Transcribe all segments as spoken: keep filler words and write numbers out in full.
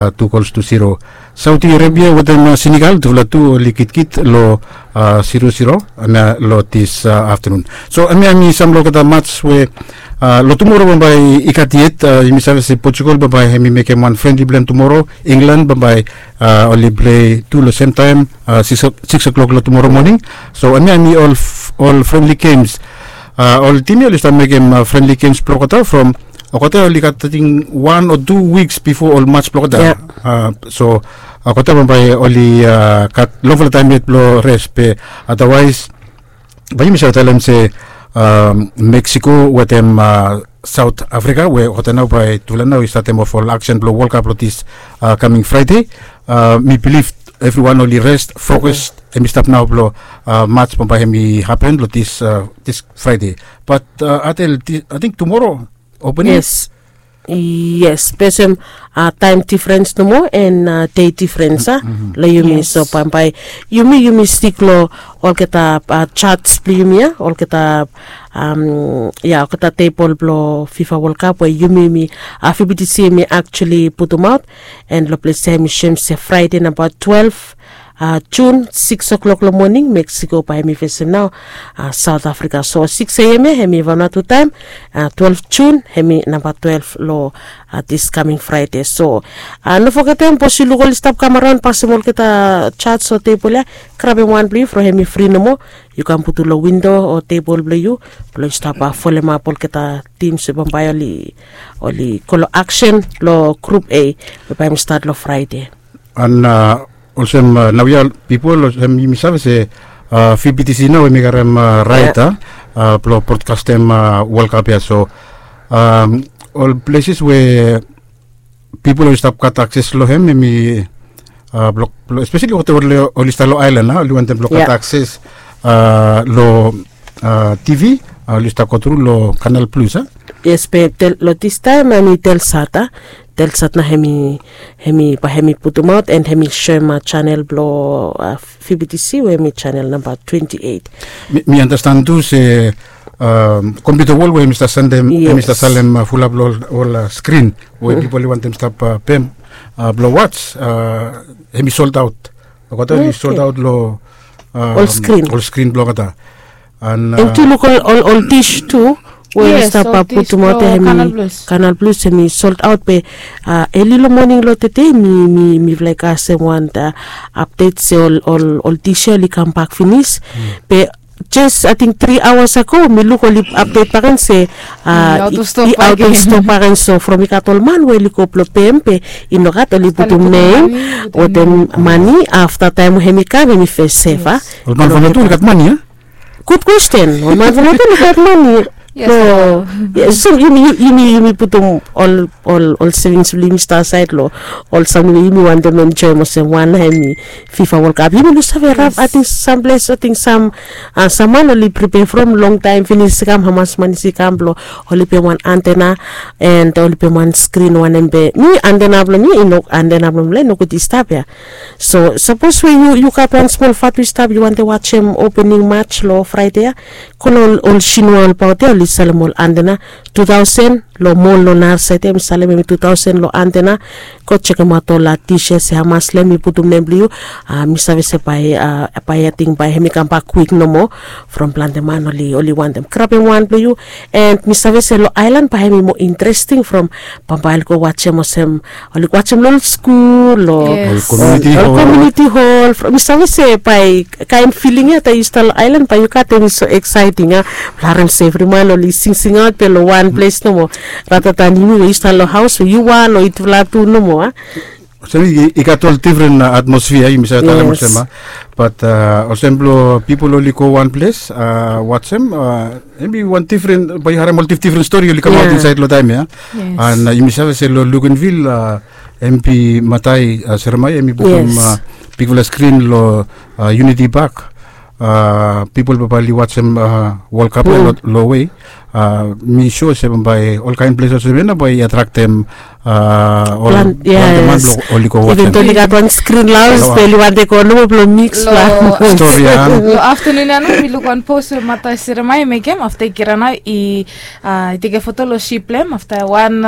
tu gols tu zero. Saudi Arabia wetem Senegal tufala tu oli kitkit long zero zero. Hemia long dis aftenun. So hemia hemi sam long olgeta mats we long tumoro bambae i gat yet. Yumi save se Portugal bambae hemi mekem wan frenli blong hem tumoro. England bambae oli plei tu long semtaem, six o'clock long tumoro moning. So hemia hemi ol frenli gems. Ol tim ya oli stap mekem frenli gems blong olgeta from olgeta oli gat ating wan o tu wiks bifo ol mats blong olgeta. So olgeta bambae oli gat longfala taem yet blong res be, adawaes bae yumi save talem se Meksiko wetem Saot Afrika we olgeta nao bae tufala nao i statem of ol aksen blong Wol Kap long dis kaming Fraede. Mi bilif evriwan oli res, fokus hemi stap nao blong mats bambae hemi hapen long dis Fraede. Bat ating tumoro opening. Yes, yes, be olsem taem difrens nomo and dei difrens a long yumi. So bambae yumi yumi stik long olgeta jats blong yumi ya, olgeta ya olgeta tebol blong FIFA World Cup we yumi yumi, VBTC yumi actually putumaot. And long ples ya yumi soem se Fraede namba twelve Jun, six o'clock long moning Meksiko bae hemi fesem nao Saot Afrika. So six a.m. ya hemi Vanuatu taem, twelve Jun hemi namba twelve long dis kaming Fraede. So no fogetem sapos yu luk oli stap kam araon pasem olgeta jats o tebol ya, grabem wan blong yu from hemi fri nomo. Yu kam putum long windo o tebol blong yu blong yu stap folemap olgeta tims we bambae oli oli go long aksen long grup A we bae hemi stat long Fraede. And olsem naoia pipol, olsem yumi save se VBTC nao hemi karem raet a blong brodkastem Wol Kap ya. So ol pleses we pipol oli stap gat akses long hem hemi blong, espeseli olgeta oli stap long aelan a, oli wantem blong gat akses long TV, oli stap go tru long Kanal Plus a. Yes, be long distaem hemi Telsat a. Telsat nao hemi hemi bae hemi putumaot and hemi soem janel blong VBTC we hemi janel namba twenti eit. Mi andastan tu se Kompiuta Wol we hemi stap sandem, hemi stap salem fulap long ol skrin we pipol i wantem stap pem blong wats, hemi soldaot. Olgeta oli soldaot long ol skrin blong olgeta. And tu luk ol ol dis tu we oli stap putumaot ya hemi Kanal Plus, hemi soldaot be eli long moning long tede mi mi mi laik kasem wan apdet se ol ol ol dis ya oli kambak finis. Be jes ating tri aoas ago mi luk oli apdet bakegen se i aot of stok bakegen. So from i gat ol man we oli go blong pem be i nogat oli putum nem wetem mane afta taem we hemi kam hemi fes sef a. Ol man from lotu oli gat mane a? Gud kwesten. Ol man from lotu oli gat mane. So yumi yumi yumi putum ol ol ol sevings blong yumi stap asaed long ol samting we yumi wantem enjoem olsem wan hemi FIFA World Cup. Yumi no save rap ating sam ples ating sam sam man oli pripea from longtaem finis i kam hamas man i kam blong oli pem wan antena and oli pem wan skrin wanem be mi antena blong mi i no antena blong mi long i no gud i stap ya. So sapos we yu yu gat wan smol fatu i stap yu wantem wajem opening mats long Fraede ya, go long ol sinua olbaot ya oli salem ol antena tu taosen long mol long narasaed ya mi salem hemi tu taosen long antena. Go jekemaot ol dis ya se hamas long hem i putum nem blong yu. Mi save se bae bae ating bae hemi kambak kwik nomo from plante man oli oli wantem grabem wan blong yu. And mi save se long aelan bae hemi moa interesting from bambae oli go wajem olsem oli go wajem long ol skul o ol komuniti hol. Mi save se bae kaen filing ya taem yu stap long aelan bae yu gat hemi so eksaeting a blong harem se evri man oli singsingaot be long wan ples nomo rather than yumi we yu stap long haos we yu wan o yutufala tu nomo a. Olsem i gat ol difren atmosfia yumi save talem olsem a. Bat olsem blong pipol oli go wan ples wajem hemi wan difren bae yu harem ol difdifren stori oli kamaot insaed long taem ya. And yumi save se long Luganville hemi matai seremaia hemi putum bigfala skrin long Unity Park. Pipol bambae oli wajem World Cup ya long we Mi sua se bambae olkaen ples olsem ya na bae i atraktem planti man blong oli go wajem. Even toli gat wan skrin laos toli wan de go nomo blong miks plan. Stori ya. Long aftanun ya nao mi luk wan pos we mata seremaia i mekem afta i kira nao i i tekem foto long sip blong hem afta wan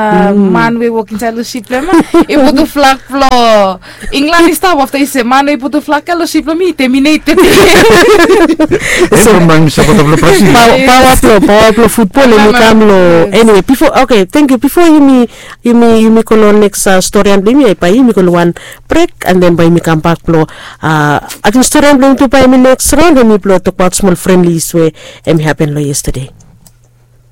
man we i wok insaed long sip blong hem i putum flak blong Inglan i stap afta i se man we i putum flak ya long sip blong mi i teminetem. Em from man mi sapota blong Brasil. Paoa blong paoa blong futbol em i kam long eniwe bifo oke tengkiu bifo yumi yumi yumi go long neks storian blong yumi bae yumi go long wan brek and then bae yumi kambak blong ating storian blong yumi tu bae yumi neks raon em i blong tokbaot smol frenli is we em i hapen long yestade.